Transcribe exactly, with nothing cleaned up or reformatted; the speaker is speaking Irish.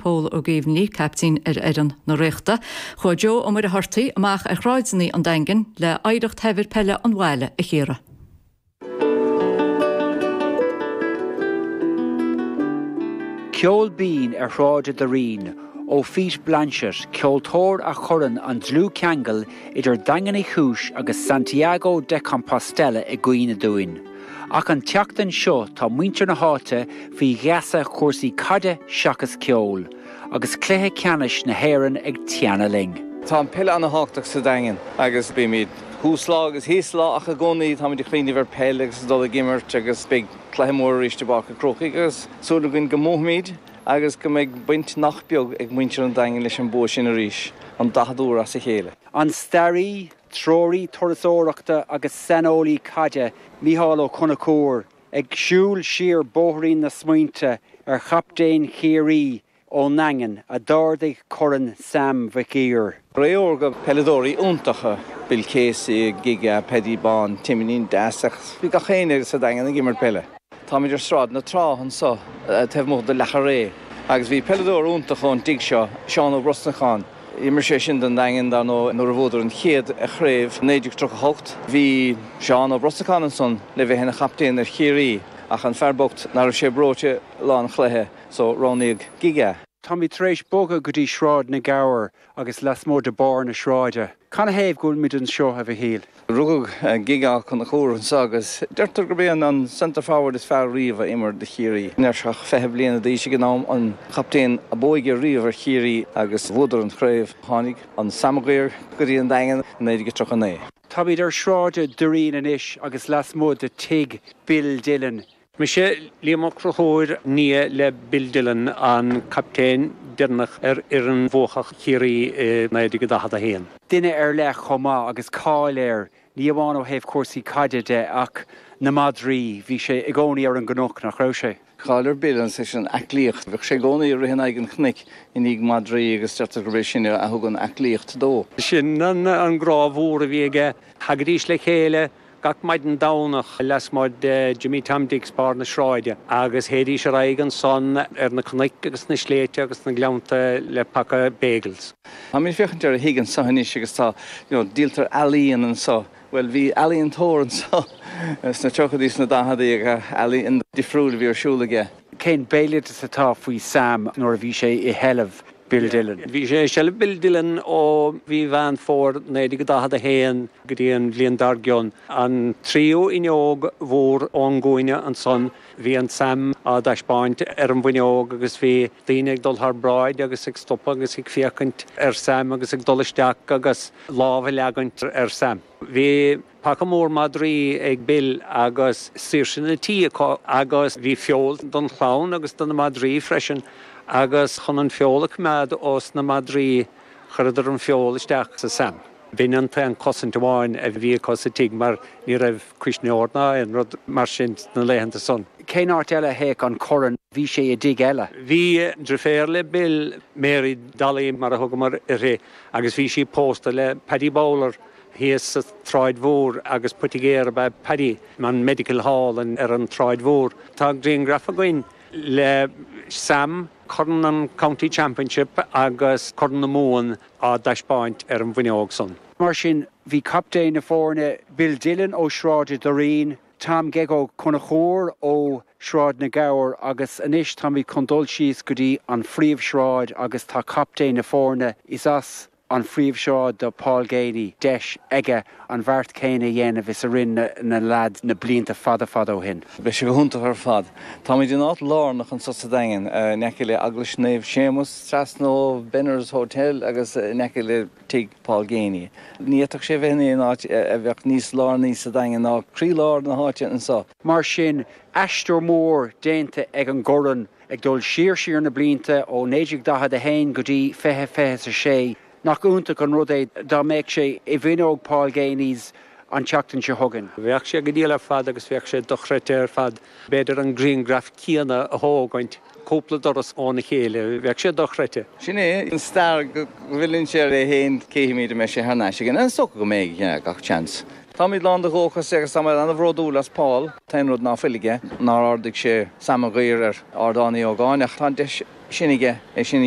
Pól Ó Géibheannaigh, captaen ar fhoireann na Ríochta. Chuaigh Joe Ó Muircheartaigh amach ar shráideanna an Daingin le hoidhreacht shaibhir peile an bhaile a chíoradh. Ceol binn ar Shráid an Doirín ó Pete Blanchett, ceoltóir a chuireann an dlúthcheangal idir Daingean Uí Chúis agus Santiago de Compostela i gcuimhne dúinn. Ach an tseachtain seo tá muintir na háite faoi gheasa chúrsaí caide seachas ceol, agus cluiche ceannais na hÉireann ag teannadh linn. Tá an peil an-tábhachtach sa Daingean agus bímid thuas lá agus thíos lá ach i gcónaí táimid ag cuimhneamh ar peil agus dul ag imirt agus beidh cluiche mór arís i bPáirc an Chrócaigh agus súil againn go mbuafaimid agus go mbeidh baint nach beag ag muintir an Daingin leis an bua sin arís, an daicheadú huair as a chéile. An staraí, treoraí turasóireachta agus saineolaí caide Mícheál Ó Conchúir ag siúl siar bóithrín na smaointe ar chaptaen Chiarraí ón nDaingean a d'ardaigh Corn Sam Mhic Uidhir. Ré órga peileadóirí iontacha, Bill Casey, Gigga, Paddy Bán, Timín Deas ach bhí gach éinne sa Daingean ag imirt peile. Táimid ar Sráid na Trá anseo taobh amuigh de Leacha Ré agus bhí peileadóir iontach ón dtigh seo, Seán Ó Brosnacháin. D'imir sé sin don Daingean dar ndóigh nuair a bhuadar an chéad chraobh naoi déag tríocha hocht. Bhí Seán Ó Brosnacháin ansan le bheith ina chaptaen ar Chiarraí ach an fear bocht nach raibh sé breoite lá an chluiche so roghnaíodh Gigga. Táimid tar éis bogadh go dtí Sráid na nGabhar agus lasmuigh de Barr na Sráide. Canathaobh go bhfuilimid anseo a Mhichíl? Rugadh Gigga Ó Conchúir anseo agus deirtear gurb é an centre forward is fearr riamh a imir do Chiarraí. Ní raibh sé ach fiche bliana d'aois ag an am, an captaen ab óige riamh ar Chiarraí agus bhuadar an chraobh. Tháinig an Sam Maguire go dtí an Daingean i naoi déag tríocha naoi. Táimid ar Shráid an Doirín anois agus lasmuigh de tigh Bill Dillon. Mise Liam Ó Conchúir, nia le Bill Dillon, an captaen deireanach ar fhoireann bhuacach Chiarraí i naoi déag daichead a haon. Duine ar leith chomh maith agus cáil air, ní amháin ó thaobh cúrsaí caide de ach na madraí, bhí sé i gcónaí ar an gcnoc, nach raibh sé? Cáil ar Bill as an aclaíocht. Bheadh sé i gcónaí ag rith in aghaidh an chnoic i ndiaidh madraí agus deirtear gurb é sin a thug an aclaíocht dó. Sin an grá mhór a bhí aige. Thagaidís le chéile gach maidin Domhnach lasmuigh de Jimmy Tom Dix Barr na Sráide agus théidís ar aghaidh ansan ar na cnoic agus na sléibhte agus na gleannta le paca bagels. Táimid ag féachaint ar a thigh anseo anois agus tá, you know, díoltar ealaíon anseo. Bhuel, bhí ealaíontóir anseo sna tríochaidí, sna daicheadaí agus ealaíon difriúil a bhí ar siúl aige. Cén béaloideas atá faoi Sam nuair a bhí sé i sheilbh Bill Dillon? Bhí sé i seilbh Bill Dillon ó mhí Mheán Fómhair naoi déag daichead a haon go dtí an bhliain dár gcionn. An tríú fhuinneog mhór ón gcúinne ansan, bhí an Sam á dtaispeáint ar an bhfuinneog agus bhí daoine ag dul thar bráid agus ag stopadh agus ag féachaint ar Sam agus ag dul isteach agus lámh a leagaint ar Sam. Bhí paca mór madraí ag Bill agus saoirse na tí acu agus bhí feoil don chlann agus do na madraí freisin agus chun an feoil a choimeád ós na madraí chuireadar an feoil isteach sa Sam. B'in an t-aon chosaint amháin a bhí acu sa tigh mar ní raibh cuisneoir ná aon rud mar sin sna laethanta san. Cén áit eile a théadh an corn? Bhí sé i dtigh eile. Bhí deirféar le Bill, Mary Dolly mar a thugamar uirthi, agus bhí sí pósta le Paddy Bowler thíos sa tSráid Mhór agus poitigéir ab ea Paddy, an Medical Hall ar an tSráid Mhór. Tá grianghraf againn le Sam, Corn an County Championship agus Corn na Mumhan á dtaispeáint ar an bhfuinneog san. Mar sin, bhí captaen na foirne, Bill Dillon ó Shráid an Doirín, Tom Geg Ó Conchúir ó Shráid na nGabhar agus anois táimid chun dul síos go dtí an phríomhshráid agus tá captaen na foirne, is as an phríomhshráid do Paul Geaney, deis aige an bheart céanna a dhéanamh is a rinne na leaids na blianta fada fada ó shin. Beidh sé go hiontach ar fad. Táimid in áit lárnach anseo sa Daingean, in aice le Eaglais Naomh Séamus, trasna ó Benner's Hotel agus in aice le tigh Paul Geaney. Ní fhéadfadh sé a bheith in aon áit a bheadh níos lárnaí sa Daingean ná croílár na háite anseo. Mar sin, aistear mór déanta ag an gcorn, ag dul siar siar na blianta ó naoi déag daichead a haon go dtí fiche fiche a sé. Nach iontach an rud é dá mbeadh sé i bhfuinneog Paul Geaney's an tseachtain seo chugainn. Bheadh sé go diail ar fad agus bheadh sé dochreidte ar fad. B'fhéidir an grianghraf céanna a thógaint cúpla doras óna chéile. Bheadh sé dochreidte. Sin é an stair go bhfilleann sé ar é féin, cífimid an mbeidh sé thar n-ais again. Is dócha go mbeidh, gach seans. Táimid lán de dhóchas agus táimid an-bhródúil as Paul. T-aon rud ná fuil aige, nár ardaigh sé Sam Maguire ar Ardán Uí Ógáin ach tá an deis sin aige é sin a dhéanamh.